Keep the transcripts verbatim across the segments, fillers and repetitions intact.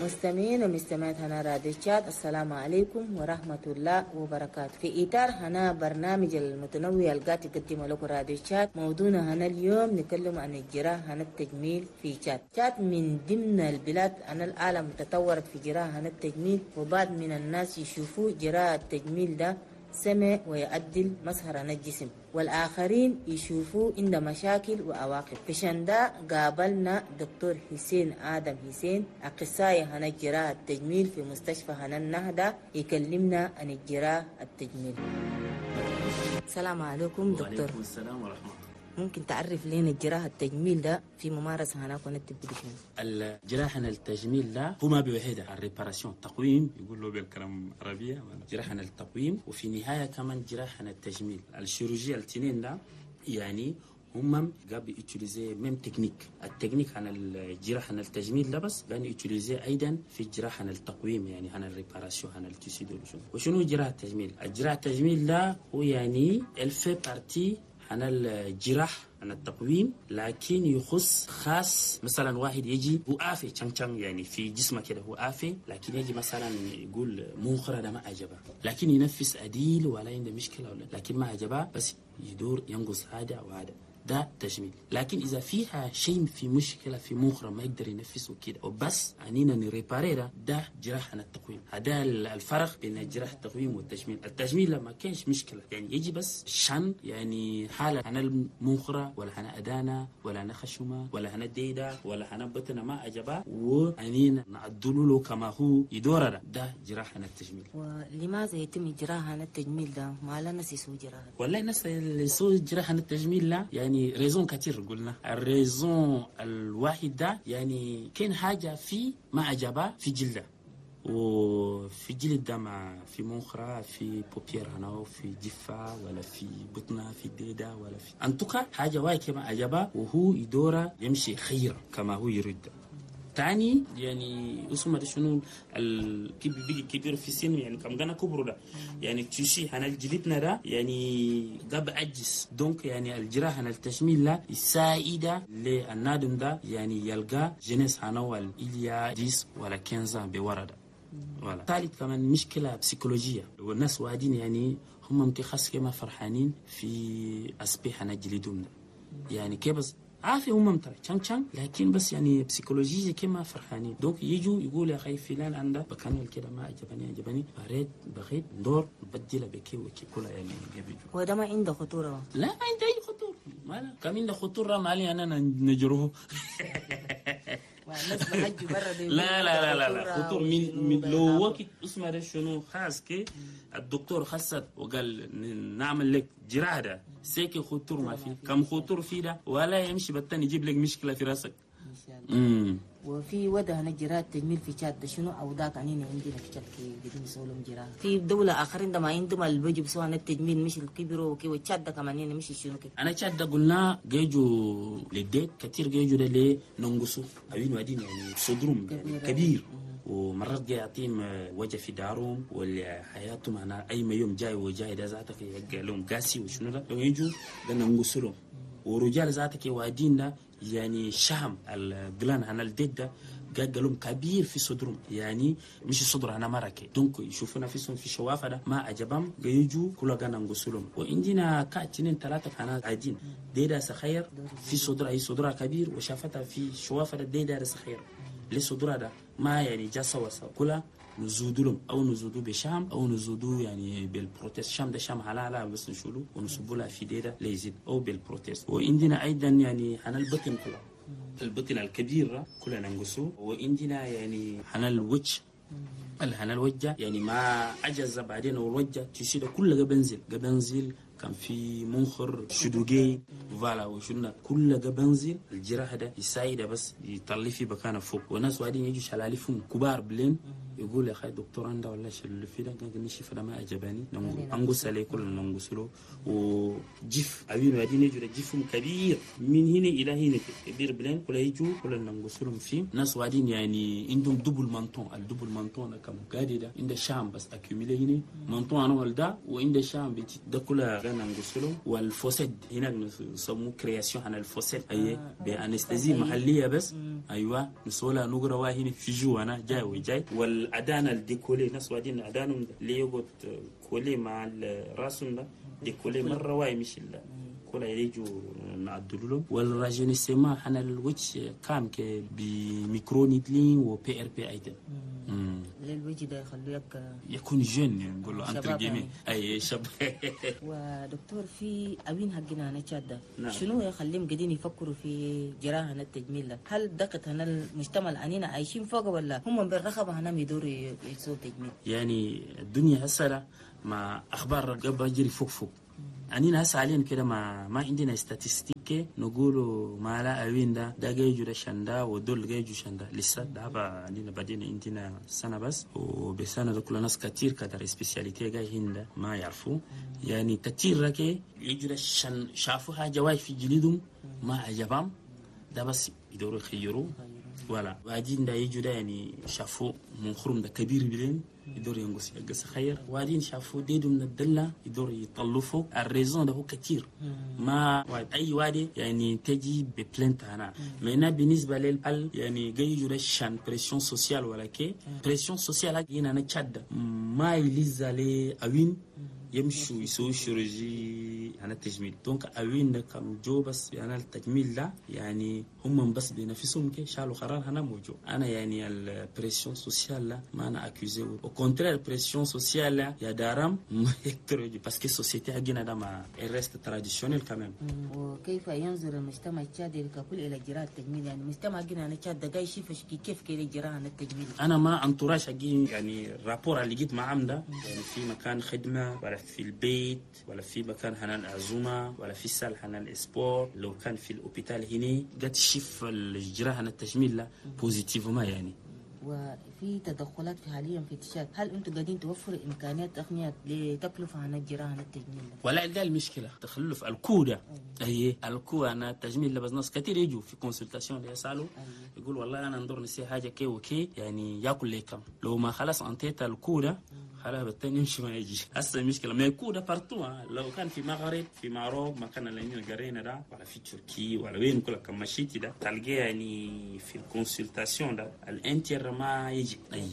مستمعين ومستمعات هنا راديو تشاد، السلام عليكم ورحمة الله وبركاته. في إطار هنا برنامج المتنوع القاعد يقدمه لكم راديو تشاد، موضوعنا هنا اليوم نتكلم عن الجراحة هنا التجميل في تشاد. تشاد من ضمن البلاد أن العالم تطورت في جراحة هنا التجميل، وبعض من الناس يشوفوا جراحة التجميل ده سمع ويعدل مظهر الجسم، والآخرين يشوفوا عنده مشاكل وعواقب. عشان ده قابلنا دكتور حسين آدم حسين، أخصائي هنا الجراحة التجميل في مستشفى هنا النهضة، يكلمنا عن الجراحة التجميل. السلام عليكم دكتور. وعليكم السلام ورحمة الله. ممكن تعرف لنا الجراحة التجميل ده في ممارسة هناك ونتبدي شنو؟ الجراحة التجميل ده هما بوحدة ال réparation التقويم، يقول له بالكلام العربية جراحة التقويم، وفي النهاية كمان جراحة التجميل. ال chirurgie الاثنين ده يعني هم قاعد utiliser même technique. ال technique عن الجراحة التجميل ده بس قاعد utiliser ايضا في الجراحة التقويم، يعني عن ال réparation عن ال tissu ده. وشنو جراحة التجميل؟ الجراحة التجميل ده هو يعني elle fait partie عن الجراح عن التقويم، لكن يخص خاص. مثلا واحد يجي هو عافي تشان تشان يعني في جسمه كده هو عافي، لكن يجي مثلا يقول منخرة ده ما عجبه، لكن ينفس عديل ولا عنده مشكلة ولا، لكن ما عجبه بس يدور ينقص هذا وهذا، ده تجميل. لكن إذا فيها شيء في مشكلة في مخرة ما يقدر ينفسه كده وبس أنينا ن réparer ده، ده جراحة التقويم. هذا الفرق بين جراحة التقويم والتجميل. التجميل لما كانش مشكلة يعني يجي بس شن يعني حالة أنا المنخرة ولا أنا أدانا ولا أنا خشمة ولا أنا ديدة ولا أنا بطنة ما عجبها وأنينا نعدلوا له كما هو يدور ده، ده جراحة التجميل. ولماذا يتم جراحة التجميل ده؟ ما لا ناس يسوي جراحة. والله الناس اللي يسوي جراحة التجميل لا يعني raisons كتير. قلنا ال raison الواحد ده يعني كان حاجة في ما عجبها في جلده، وفي جلد ده مع في منخرة في paupières هنا في جفة ولا في بطنة في ديدة ولا في en tout cas حاجة واحد كما عجبها وهو يدورة يمشي خير كما هو يريد. تاني يعني اسمه ده شنو الكبير بيجي كبير في السن يعني كم جانا كبر ده يعني tissu هنا جلدنا ده يعني قاب عجز، donc يعني الجراحة هنا التجميل لا السائدة للنادم ده يعني يلقى jeunesse هنا والإليا عشرة ولا خمسة عشر بورا ده. voilà. ثالث كمان مشكلة بسيكولوجية، والناس وادين يعني هم متخصص كما فرحانين في aspect هنا جلدهم ده يعني كيف بس عافية هم ترى تشان تشان، لكن بس يعني psychologie كما فرحانين. donc يجوا يقول يا أخي فلان عنده بكان كده ما عجبني عجبني بريد بغيت ندور بديله بكي وكي كلها يعني قبل. وده ما عنده خطورة؟ لا ما عنده أي خطورة، ما لا كم عنده خطورة ما علي أنا نجروه. لا لا لا لا خطور من, من لو وقت اسمه ده شنو خاص كي الدكتور خصت وقال نعمل لك جراحة ده سيكي خطور ما في كم خطور في ده ولا يمشي بالتاني يجيب لك مشكلة في راسك. إن وفي وده هنا جراحة تجميل في تشاد شنو أوضاع عنينا عندنا في تشاد كي قديم يسولهم جراحة في دولة آخرين ده ما عندهم اللي بيجوا بسوا التجميل مش الكبير وكي وتشاد ده كمان هنا مش شنو كي. أنا تشاد ده قلنا جيجو للديت كتير جيجو ده ليه ننقصه أبين وادين يعني صدرهم يعني كبير ومرات جاي يعطيهم وجه في دارهم ولا حياتهم أنا أي ما يوم جاي وجاي ده ذاتك يلقى لهم قاسي وشنو ده لو يجوا ده ننقص لهم. ورجال ذاتك وادين ده يعني شهم الجلان عن الديد ده قال لهم كبير في صدرهم يعني مش صدر انا مركه donc يشوفونا فيهم في شوافه ده ما عجبهم يجوا كل كان نغسلهم. وعندنا كاتنين ثلاثه كان عادين ديدا سخير في صدر اي صدرها كبير وشافتها في شوافه ده ديدا سخير ليه صدرها ده ما يعني جا سوا سوا كلها نزودلهم او نزودو بشام او نزودو يعني بال prothèse. شام ده شام حلالة بس نشولو ونصبوا لها في ديدا ليزيد او بال prothèse. وعندنا ايضا يعني حنا البطن كلها البطن الكبير كلنا ننقصه. وعندنا يعني حنا الوجه الحنا الوجه يعني ما عجز بعدين والوجه تشيل كله بنزل بنزل كان في منخر شدوجي voilà وشلنا كل ده بنزل الجراحة ده يساعد بس يطلع في مكانه فوق. وناس وادين يجوا شلاليفهم كبار بلين يقول يا اخي دكتور عنده ولا شل في ده كان نشوف ده ما عجبني انقص عليه كل ننقص له. وجف عيون وادين يجوا جفهم كبير من هنا الى هنا كبير بلين كل يجوا كل ننقص لهم فيه. ناس وادين يعني عندهم double menton، ال double menton كم قاعد ده عند شام بس accumulé هنا menton انا ولدا وعند شام ده كلها ننقص لهم. وال fossette هنا نسموه création عن ال fossette اي ب anesthésie محليه بس. ايوه نسولا نقرا هنا في جو انا جاي وجاي. والادان ال décollé ناس وادين ادانهم اللي يقعد collé مع الراس ده décollé مرة واي مش كل يجوا نعدلوا لهم. وال rajeunissement حنا الوجه كام ك ب microneedling و PRP ايضا. للوجه ده يخلوه يكون jeune نقول له entre guillemets اي شاب. ودكتور في اوين حقنا انا تشاد ده نعم. شنو يخليهم قاعدين يفكروا في جراحه التجميل ده؟ هل دقت هنا المجتمع اللي عايشين فوق ولا هم بالرغبه هنا يدوروا يسووا تجميل؟ يعني الدنيا هسه مع اخبار قبل يجري فوق فوق أنينا هسه علينا كده ما ما عندنا statistiques نقولوا ما لا أوين ده ده جايجو ده شندا ودول جايجو شندا لسه ده بقى عندنا بعدين عندنا سنة بس وبسنة ده كل ناس كتير كتر spécialité جاي هنا ما يعرفوا يعني كتير ركي يجوا ده شن شافوا حاجة واي في جلدهم ما عجبهم ده بس يدوروا يخيروا ولا بعدين ده يجوا ده يعني شافوا منخرم ده كبير بلين يدور ينقص يقص خير. وبعدين شافوا ديدو من الدلة يدور يطلفوا ال raison ده هو كتير ما اي وادي يعني تجي ب plainte هنا maintenant بالنسبة لل يعني جاي يجوا pression sociale ولا كي pression sociale هنا نتشد ما يلز عليه اوين يمشوا يسووا chirurgie عن التجميل. donc اوين كم جو بس يعني التجميل ده يعني هم بس بنفسهم كي شالوا قرار هنا موجود. انا يعني ال pression sociale لا ما انا accusé au contraire pression sociale يا دارم ما يقدروا parce que société حقنا ده ما reste traditionnelle quand même. وكيف ينظر المجتمع التشادي ككل الى جراحه التجميل؟ يعني المجتمع حقنا انا تشاد ده يشوف كيف كده جراحه التجميل. انا ما entourage حقي يعني ال rapport اللي جيت معهم ده يعني في مكان خدمة ولا في البيت ولا في مكان هنا العزومة ولا في salle هنا ال sport لو كان في ال hôpital هنا قد شف الجراحة التجميل لا positivement يعني. وفي تدخلات في حاليا في تشاد، هل انتم قاعدين توفروا امكانيات تقنيات لتكلفه عن الجراحة التجميل؟ ولا ده المشكلة تخلف ال coût ده اي ال coût انا التجميل بس ناس كثير يجوا في consultation يسالوا يقول والله انا ندور نسي حاجة كي وكي يعني ياكل لي كم لو ما خلاص انتيت ال coût ده خلاص بالتاني يمشي ما يجي. هسه المشكلة ما يكون ده partout لو كان في مغرب في Maroc ما كان اللي قرينا ده ولا في تركيا ولا وين كل كم مشيتي ده تلقى يعني في ال consultation ده الانتر ما يجي. أي.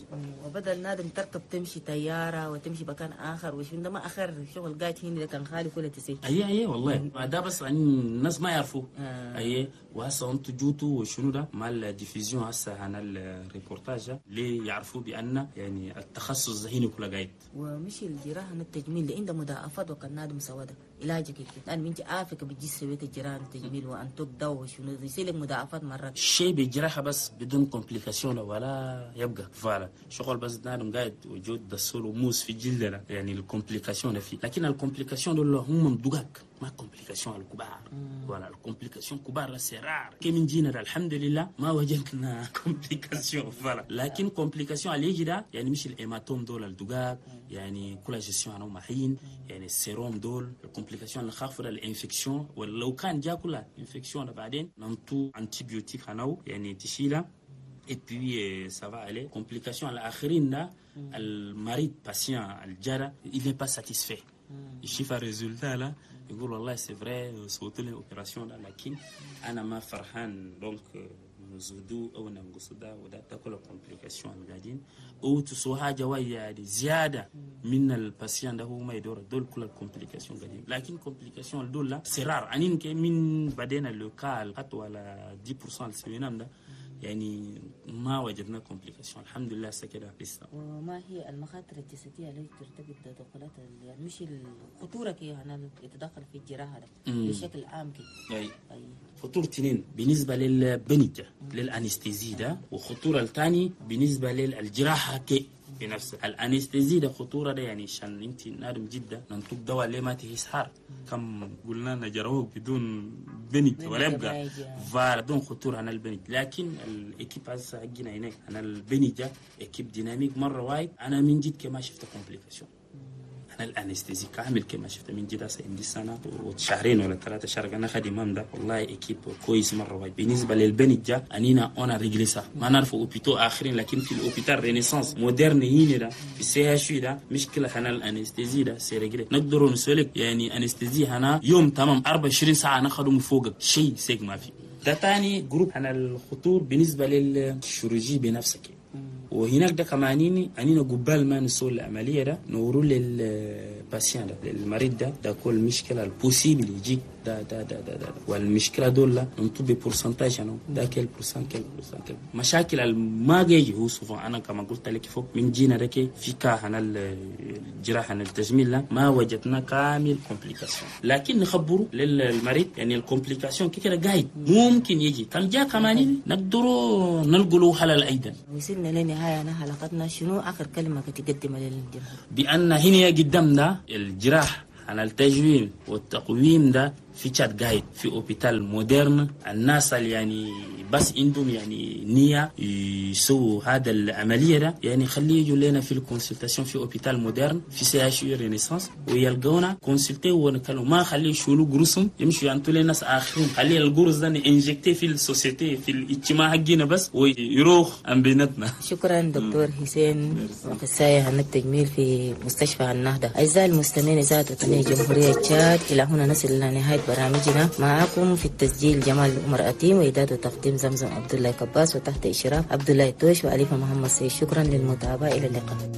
وبدل نادم تركب تمشي طيارة وتمشي مكان اخر وش ده ما اخر شغل قاعد هنا كان خالي كل تسي. اي اي والله ده بس يعني الناس ما يعرفوا. آه. اي وهسه انتوا جوتوا وشنو ده مع ال diffusion هسه عن الريبورتاج ليه يعرفوا بان يعني التخصص هنا كله قاعد. ومش الجراحة التجميل اللي عنده مضاعفات وكان نادم سواده علاجك كيف لان انت عافك بتجي سويت الجراحة التجميل وانتوك دواء وشنو يصير لك مضاعفات مرات شيء بالجراحه بس بدون complication ولا يبقى voilà شغل بس نادم قاعد وجود دسول وموس في جلدنا يعني ال complications فيه. لكن ال complications دول هم مدقق ما complications الكبار ولا ال complications كبار c'est rare كي من جينا الحمد لله ما وجدنا complications voilà. لكن complications اللي يجي ده يعني مش ال hématome دول الدقاق يعني كل gestion انا محين يعني السيروم دول ال complications اللي خافوا ال infection ولو كان جا كلها infection بعدين نمتو antibiotique هناو يعني تشيلها et puis ça va aller. Complications الآخرين المريض patient الجرى il n'est pas satisfait. يشوف ال résultat لا يقول والله c'est vrai صوت لي opération لكن انا ما فرحان donc نزودو او ننقص ده وده تاكل complications قاعدين او تسوى حاجة يعني زيادة من ال patient ده هو ما يدور دول كل ال complications قاعدين. لكن complications دول لا c'est rare انين من بعدين le cas حتى ولا عشرة بالمية السوينام ده يعني ما وجدنا complications الحمد لله سكده لسه. وما هي المخاطر الجسدية التي ترتبط بتدخلات يعني مش الخطورة كي انا يتدخل في الجراحة ده بشكل عام كي؟ اي خطورة اثنين بالنسبة للبنج لل anesthésie ده، وخطورة الثاني بالنسبة للجراحه كي. بنفسه. ال anesthésie ده خطورة ده يعني عشان انت نادم جدا ننطق دواء ليه ما تهيس حار كم قلنا نجروه بدون بنج ولا يبقى voilà دون خطورة عن البنج. لكن ال équipe هسه حقنا هناك انا البنج équipe dynamique مرة وايد. انا من جد كما شفت complication انا ال anesthésie كامل كما شفت من جد هسه عندي سنة وشهرين ولا ثلاثة شهر انا خدمة ده والله équipe كويس مرة وايد. بالنسبة للبنجه انينا on a réglé ça ما نعرف hôpitaux اخرين، لكن في ال hôpital Renaissance moderne هنا ده في ال CHU ده مشكلة هنا ال anesthésie ده c'est réglé نقدروا نسولك يعني anesthésie هنا يوم تمام أربعة وعشرين ساعة ناخذ فوقك شيء سيك ما في. ده تاني groupe عن الخطور بالنسبة لل chirurgie بنفسك. وهناك ده كمان انينا قبال ما نسوي العملية ده نورو لل patient ده للمريض ده ده كل مشكلة ال possible يجيك ده ده ده ده, ده. والمشكلة دول نطب pourcentage انا ده quel pourcent quel pourcent quel مشاكل ما جاي هو souvent انا كما قلت لك فوق من جينا ده في cas هنا الجراحة التجميل لا ما وجدنا كامل complication، لكن نخبره للمريض يعني ال complication كده قاعد ممكن يجي كم جاء كمان نقدروا نلقوا له حل ايضا. وصلنا لنهاية حلقتنا، شنو اخر كلمة تقدمها للجمهور؟ بان هنا قدامنا الجراح عن التجميل والتقويم ده في تشاد قايد في hôpital moderne. الناس اللي يعني بس عندهم يعني نية يسووا هذا العملية ده يعني خليه يجوا لنا في ال consultation في hôpital moderne في CHU Renaissance ويلقونا consulter ونكلم، ما خليه يشولوا قروسهم يمشوا ينطوا لنا ناس اخرين، خليه القرص ده injecter في ال société في الاجتماع حقنا بس ويروح عن بيناتنا. شكرا دكتور حسين اخصائي عن التجميل في مستشفى النهضة. اعزائي المستمعين اذاعة وطنية جمهورية تشاد، الى هنا نصل الى نهاية برامجنا. معكم في التسجيل جمال عمر أتيم، وإعداد وتقديم زمزم عبد الله كباس، وتحت إشراف عبد الله توش وأليفة محمد سيد. شكرا للمتابعة، إلى اللقاء.